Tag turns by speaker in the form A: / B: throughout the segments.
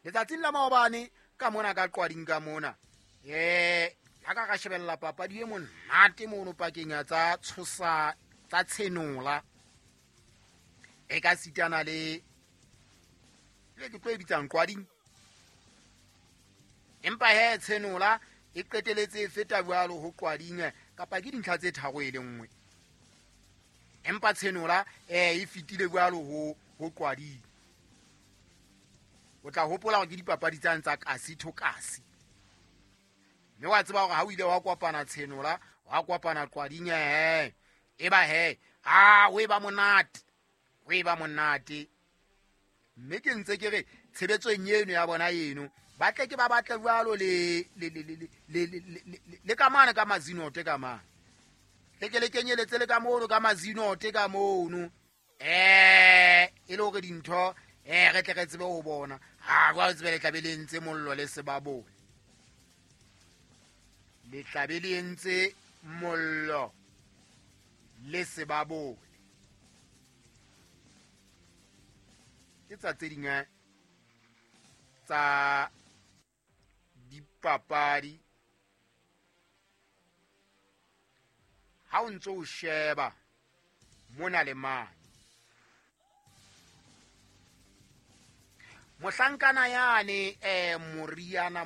A: Letsatsing la maobane ka mona ka Qwading ka mona, ha ka ka shebella papadi e monate mono pakeng ya tsa tshosa tsa Tshenola e ka sitana le le ke tlo e bitsang Qwading, empa he Tshenola e qeteletse e feta jwalo ho Qwading kapa ke dintlha tse tharo e le nngwe, empa Tshenola e fetile jwalo ho Qwading. O tla hopola hore ke dipapadi tsane tsa kasi to kasi, mme wa tseba hore ha o ile wa kopana Tshenola wa kopana Qwading, e ba he a o e ba monate, o e ba monate. Mme ke ntse ke re tshebetsong eno ya bona eno ba tle ke ba batle jwalo le ka mane ka mazinote ka mane, le ke le kenyeletse le ka mono ka mazinote ka mono, e le hore dintho re tle re tsebe ho bona. Ha jwale tsebe le tlabe le entse mollo le sebabole, le tlabe le entse mollo le sebabole. Ke tsa tse ding tsa dipapadi ha o ntso o sheba mona le mane. Mohlankana yane Moriana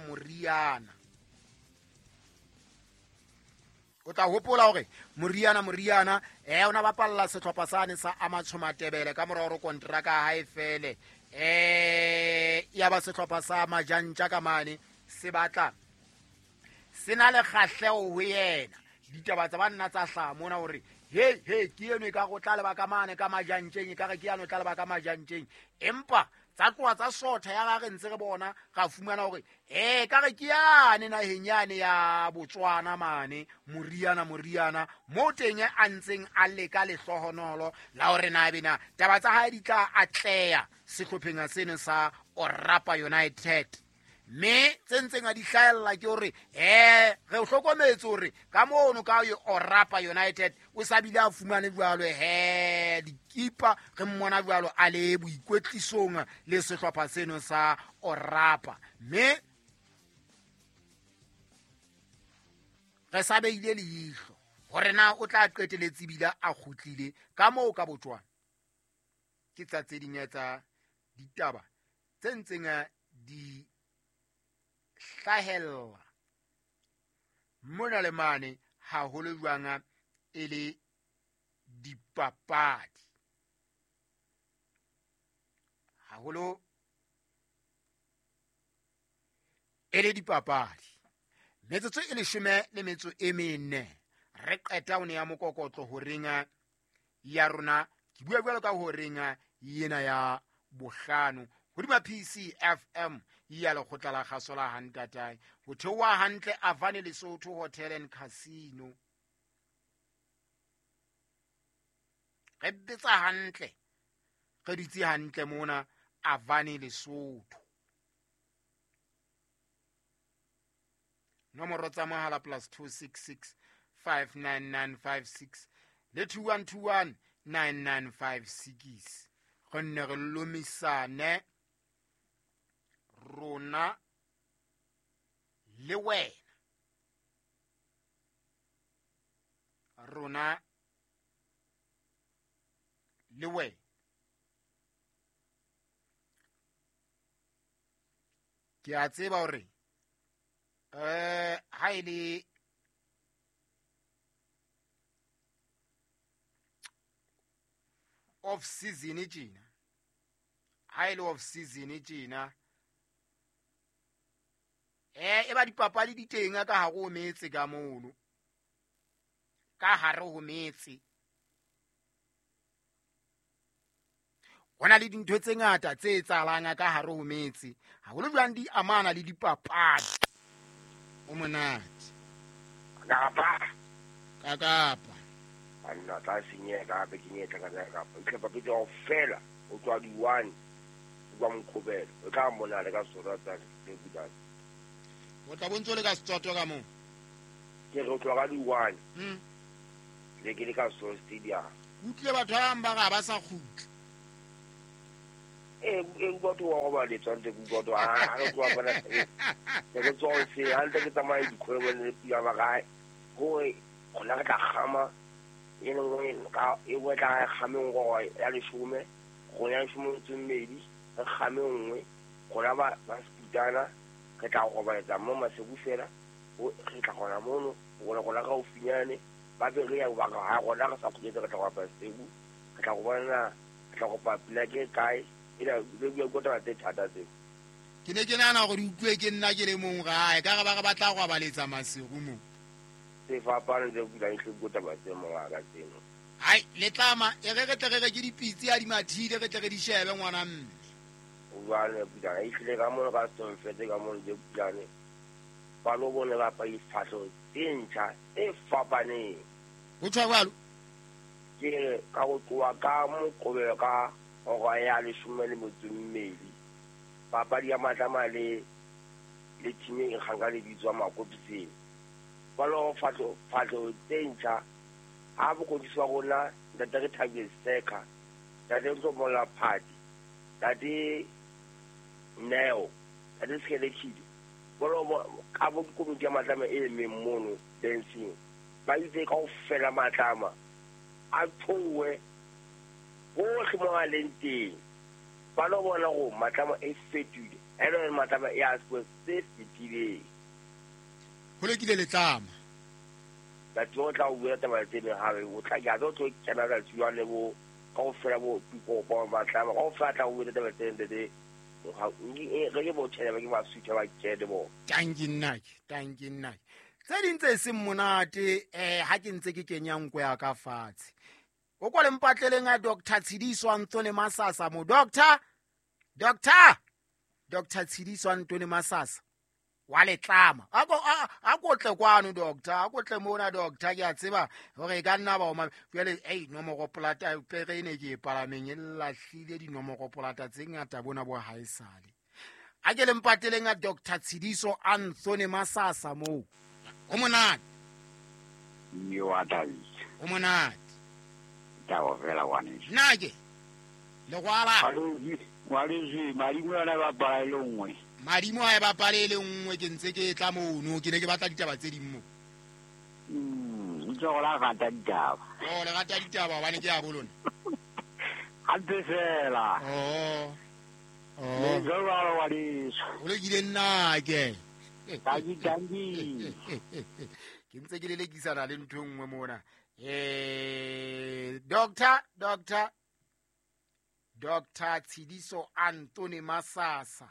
A: o tla hopola hore Moriana o na bapalla sehlopha sane sa Amatsho Matebele ka mora hore kontraka ya hae fele, ya ba sehlopha sa Majantja ka mane se batla se na le kgahleho ho yena. Ditaba tsa banna tsa hlaha mona hore he ke eno e ka go tla leba ka mane ka Majantjeng, e ka re ke yano tla leba ka Majantjeng, empa tsa tloha tsa sotha ya re ntse re bona ra fumana hore ka re ke yane naheng yane ya Botswana mane Moriana mo teng a ntseng a leka lehlohonolo la hore na bena taba tsa hae di tla atleha sehlopheng seno sa Orapa United. Mme tse ntseng a di hlahella ke hore re o hlokometse hore ka mono ka e Orapa United o sa bile a fumane jwalo dikipa, re mmona jwalo a le boikwetlisong le sehlopha seno sa Orapa. Mme re sa beile leihlo hore na o tla qeteletse bile a kgutlile ka moo ka Botswana. Ke tsa tse ding tsa ditaba tse ntseng di hlahella mona le mane haholo jwang e le dipapadi, haholo e le dipapadi. Metsotso e 14 re qeta ho nea mokokotlo horeng ya rona. Ke bua jwalo ka horeng yena ya bohlano hodima PCFM ya lekgotla la kgaso la Hantatae, ho theoha hantle Avane Lesotho Hotel and Casino. Re betsa hantle, re dutse hantle mona Avane Lesotho. Nomoro tsa mohala +266 59956 le 2121 9956. Re nne re lomisane rona le wena, rona le wena. Ke a tseba hore ha e le off season tjena, ha e le off season tjena e ba dipapadi di teng ka hare ho metse ka mono, ka hare ho metse. Ho na le dintho tse ngata tse etsahalang ka hare ho metse, haholo jwang di amana le dipapadi. O monate
B: kapa
A: ka kapa
B: anna tla senyeha hape ke nyetla ka kapa itlhapa petse kaofela o tswa di 1 o mokgobelo o tla mona le ka sora tsa le budane
A: o tla bontso le ka setswato ka moo
B: ke re tloga di 1 le ke le ka so stadium
A: utlwe batho ba bang ba ga ba sa kgutla
B: e batho robaletswa ntse ke utlwa to ha re tloha bana ke tswa se ha ntse ke tsamaya dikgwebo le pula ba kae hore rona re tla kgama e nngwe ka e nngwe tla kgame nngwe ya leshome rona ya leshome metso e mmedi re kgame nngwe rona ba seputana re tla robaletsa mo Maseru fela re tla gona mono rona gaufinyane ba be re ya ha rona re sa kgutletse re tla go Maseru re tla go bona re tla kopa pula ke kae ena le bua ka taba tse thata tseo.
A: Ke ne ke nahana gore di utlwe ke nna ke le mong gae ka re ba re batla go abaletsa Maseru mo.
B: Se fapane tse bulang hle bua taba tse mongaka tseno.
A: Hai letlama e re re tle re reke dipitse ya di mathile re tle re di shebe ngwana mme.
B: Jwale pulane e hlile ka mono ka Stonfete ka mono tse pulane ba lo bone ba pa difahlo tse ntjha tse fapaneng.
A: Ho tjho jwalo?
B: Ke re ka go tloha ka Moqobelo ka hora ya 12 papadi ya Matlama le team e nkgang ka lebitso wa Makopiseng. Ba lo fahlo tse ntjha ha bokgodisi wa rona ntate re Thabile Seka, ntate Ntlomola Phati, ntate Neo, ntate Skelekile. Ba lo ka bo komiti ya Matlama e emeng mono dancing. Ba itse kaofela Matlama a thowe hohle mo a leng teng. Ba lo bona gore Matlama e fetohile, ene Matlama e a se fetileng.
A: Ho lokile letlama.
B: Batho o tla o bua taba tse ding hape o tla ke a tlo kena ka jwale bo kaofela bo pipo Matlama kaofela tla o bua taba tse ding tse re ke bo tjhele ba ke ba sutha ba kene bo.
A: Tanki nnake. Tse ding tse seng monate ha ke ntse ke kenya nko ya ka fatshe. O kwa le mpatleleng a Dr. Tshidiso Anthony Masasa mo. Dr. Tshidiso Anthony Masasa wa letlama. A ko tle kwano doctor, a ko tle mona doctor, ke a tseba hore e ka nna ba o jwale ei nomoro polata pere ene ke e palameng e lahlile dinomoro polata tse ngata bona bo haesale. A ke le mpateleng a Dr. Tshidiso Anthony Masasa mo. O monate.
C: Yo athabile.
A: O monate.
C: Taba fela ngwaneso.
A: Nna ke legwala.
C: Ngwaneso madimo yona ba bapala e le nngwe.
A: Madimo ha e bapale e le nngwe ke ntse ke tla mono ke ne ke batla ditaba tse ding mo.
C: Ntse go la rata ditaba.
A: Oh le rata ditaba hobane ke ya bolona.
C: Hampe fela.
A: Oh.
C: Le jwalo ngwaneso.
A: O lokile nna ke.
C: Tanki.
A: Ke ntse ke lelekisana le ntho e nngwe mona. Dr. Tshidiso Anthony Masasa.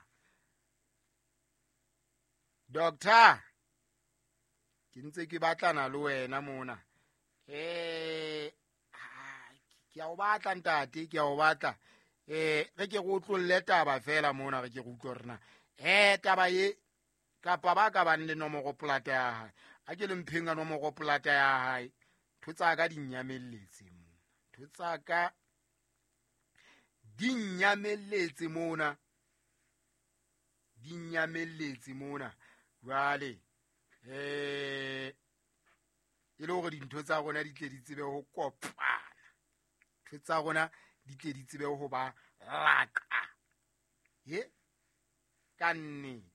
A: Doctor, ke ntse ke batlana le wena mona. Ke a o batla ntate, ke a o batla. Re ke go tlolle taba fela mona re ke go utlwe rena. Taba e kapa ba ka bang le nomoro polata ya hae. A ke le mpheng ka nomoro polata ya hae. Ntho tsa ka di nnyamelletse mona. Ntho tsa ka di nnyamelletse mona. Di nnyamelletse mona. Jwale e le hore dintho tsa rona di tle di tsebe ho kopana. Ntho tsa rona di tle di tsebe ho ba laka. Ye ka nnete.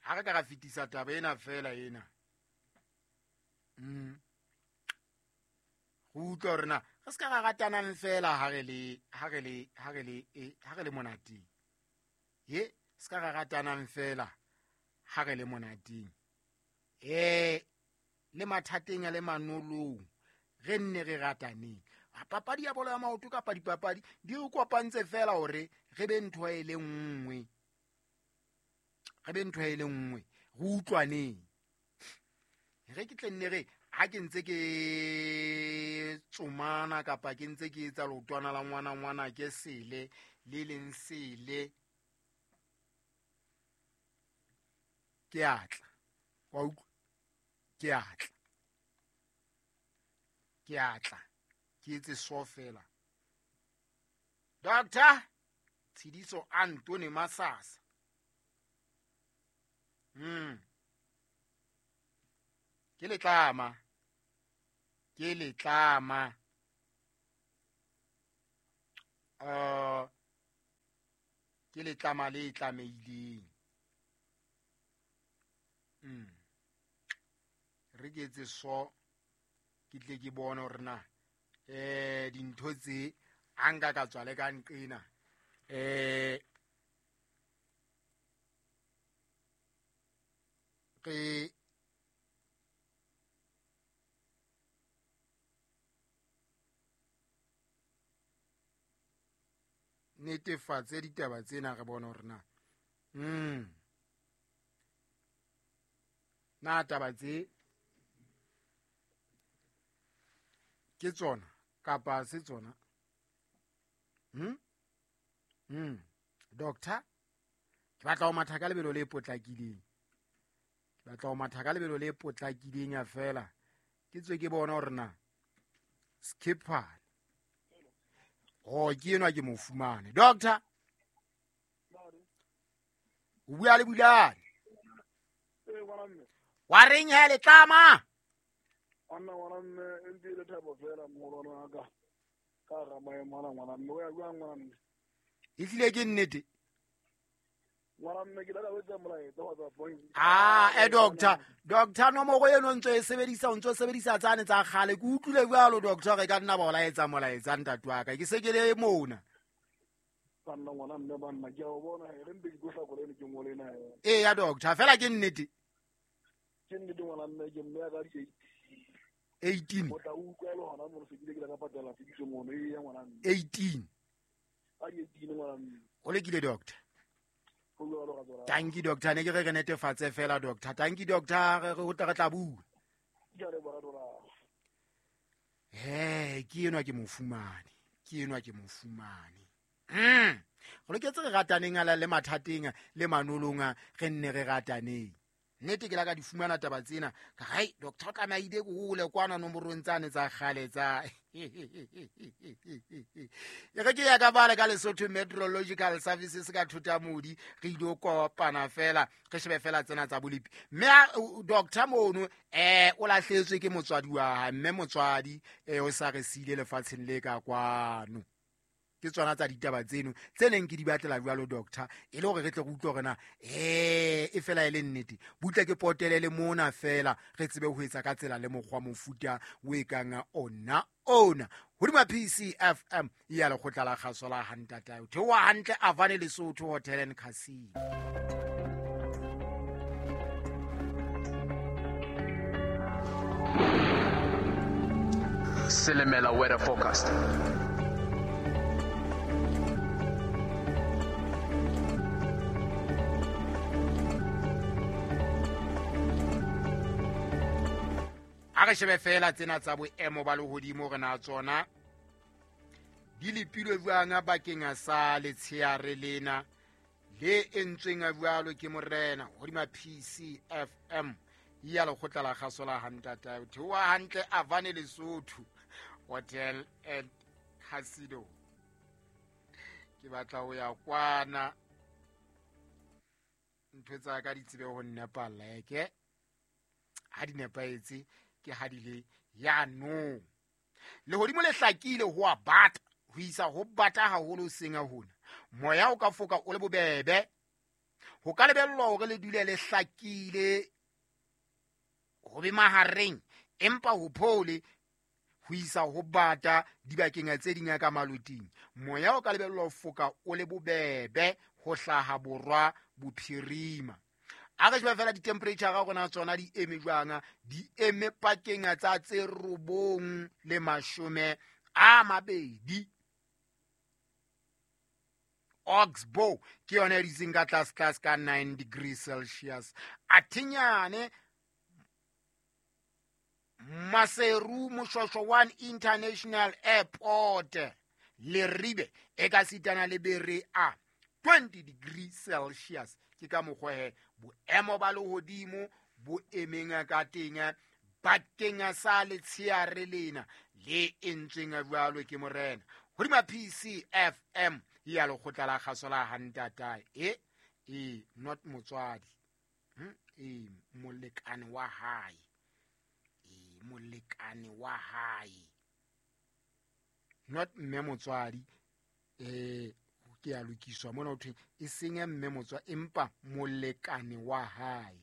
A: Ha re ka ra fetisa taba ena fela ena. Go utlwa hore na re se ka ra ratanang fela ha re le monateng. Ye se ka ra ratanang fela ha re le monateng. Le mathateng a le manolong re nne re rataneng. Papadi ya bolo ya maoto kapa dipapadi di re kopantse fela hore re be ntho e le nngwe. Re be ntho e le nngwe, re utlwaneng. Re ke tle nne re ha ke ntse ke tsomana kapa ke ntse ke etsa leotwana la ngwana ngwana ke sele le leng sele ke atla. Wa utlwa? Ke atla. Ke atla. Ke etse so fela. Dr. Tshidiso Anthony Masasa. Ke letlama. Ke letlama. Ke letlama le tlamehileng. Re ke etse so ke tle ke bone hore na dintho tse a nka ka tswa le ka nqena re netefatse ditaba tsena re bone hore na na taba tse ke tsona kapa se tsona. Doctor, ke batla ho matha ka lebelo le potlakileng. Ke batla ho matha ka lebelo le potlakileng ya fela. Ke tswe ke bona hore na Skipper oh ke enwa ke mo fumane. Doctor, o bua le Bulane. Wa reng he letlama?
D: Anna ngwana mme e ntse le thabo fela mogolwane wa ka. Ka ga maemo ana ngwana mme o ya jwang ngwana mme?
A: E tlile ke nnete.
D: Ngwana mme ke la wetsa molaetsa wa tsa point.
A: Doctor, doctor nomoro eno ntse e sebedisa o ntse o sebedisa tsane tsa kgale. Ke utlwile jwalo doctor re ka nna ba o laetsa molaetsa ntate wa ka. Ke se ke le mona.
D: Banna ngwana mme banna ke a o bona re mpe ke tlo hlakola ene ke ngole ena.
A: Ee ya doctor, fela ke nnete.
D: Ke nnete ngwana mme ke mme ya ka di
A: 18.
D: O tla utlwa le hona mo se ke ile ka patala fiso mono e ya ngwana mme.
A: 18.
D: A 18 ngwana mme.
A: O lekile doctor. Thank you doctor, ne ke re netefatse fela doctor. Thank you doctor, re ho tla re tla bua. Ke enwa ke mo fumane. Ke enwa ke mo fumane. Go loketse re rataneng ala le mathateng le manolong re nne re rataneng. Nnete ke la ka di fumana taba tsena. Ka hai doctor ka maide go hole kwana nomorong tsane tsa kgale tsa. E re ke ya ka bale ka Lesotho Meteorological Services ka Thutamodi re ile kopana fela re shebe fela tsena tsa bolipi. Mme doctor mono o lahletswe ke motswadi wa hae, mme motswadi o sa re sile lefatsheng le ka kwano. Ke tsona tsa ditaba tseno tse neng ke di batlela jwalo doctor e le hore re tle re utlwe hore na e fela e le nnete. Butle ke potele le mona fela re tsebe ho etsa ka tsela le mokgwa mofuta o e kang ona ona. Hodima PCFM ya lekgotla la kgaso la Hantatae. Theoha hantle Avane Lesotho Hotel and Casino.
E: Silimela weather forecast.
A: A re shebe fela tsena tsa boemo ba lehodimo re na tsona di lepilwe jwang bakeng sa letsheare lena le entsweng jwalo ke morena hodima PCFM ya lekgotla la kgaso la Hantatae. Theoha hantle Avane Lesotho Hotel and Casino. Ke batla ho ya kwana ntho tsa ka di tsebe ho nnepalla eke ha di nepahetse ke ha di le ya no. Lehodimo le hlakile ho a bata ho isa ho bata haholo seng hona. Moya o ka foka o le bobebe. Ho ka lebellwa hore le dule le hlakile ho be mahareng empa ho phole ho isa ho bata dibakeng tse ding ka maloting. Moya o ka lebellwa ho foka o le bobebe ho hlaha borwa bophirima. A re shebe fela di-temperature ga rona tsona di eme jwang, di eme pakeng tsa tse 9 le 20. Oxbow ke yona e ditseng ka tlase tlase ka 9 degrees Celsius. Athinyane Maseru Moshwashwa 1 International Airport Leribe e ka sitana le bere a 20 degrees Celsius. Ke ka mokgwa he boemo ba lehodimo bo emeng ka teng bakeng sa letsheare lena le entsweng jwalo ke morena. Hodima PCFM ya lekgotla la kgaso la Hantatae. Not motswadi. Molekane wa hae. Molekane wa hae. Not mme motswadi. Ke a lokiswa mona ho thwe e seng mme motswa empa molekane wa hae.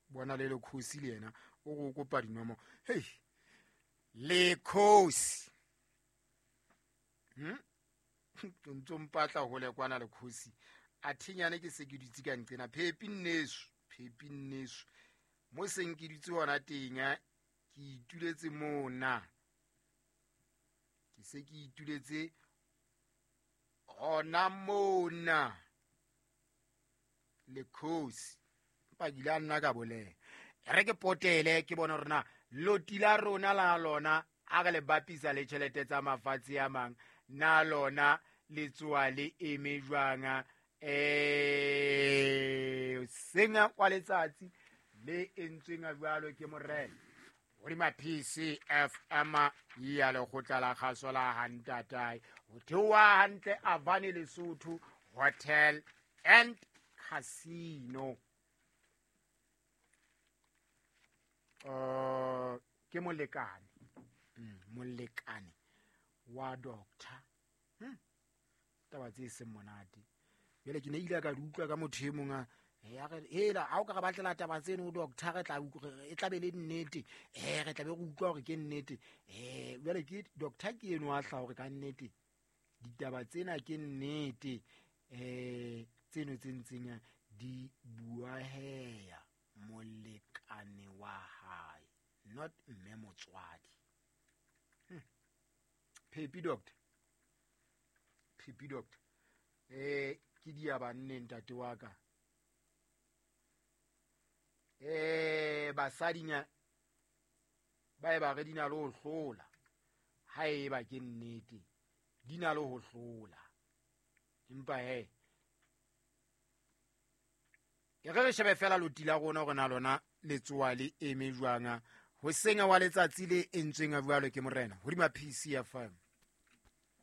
A: Bona le lekhosi le yena o go kopa dinomo. Hei lekhosi. O ntso mpatla hole kwana lekhosi. A thinyane ke se ke dutse ka nqena phepi nneso. Mo seng ke dutse hona teng ke ituletse mona. Ke se ke ituletse hona mona. Lekhosi. Empa ke ile a nna ka bolela. Re ke potele ke bona hore na loti la rona la lona a re le bapisa le tjhelete tsa mafatshe a mang na lona le tsoa le eme jwang. Senga kwa letsatsi le entsweng jwalo ke morena hodima PCFM ya lekgotla la kgaso la hantatae ho theoha hantle Avani Lesotho Hotel and Casino. Ke molekane molekane wa doctor. Taba tse seng monate. Jwale ke ne ile ka di utlwa ka motho e mong a ya re hela ha o ka re batlela taba tseno o doctor re tla e tla be le nnete. Re tla be re utlwa hore ke nnete. Jwale ke doctor ke eno a hla hore ka nnete ditaba tsena ke nnete. Tseno tse ntseng di buaheya molekane wa hae, not mme motswadi. Phepi doctor. Ke dia banne ntate wa ka. Basadinya ba e ba re dina le ho hlola. Ha e ba ke nnete dina le ho hlola. Empa he ke re shebe fela loti la rona hore na lona le tsoa le eme jwang ho senga wa letsatsi le entsweng jwalo ke morena hodima PCFM.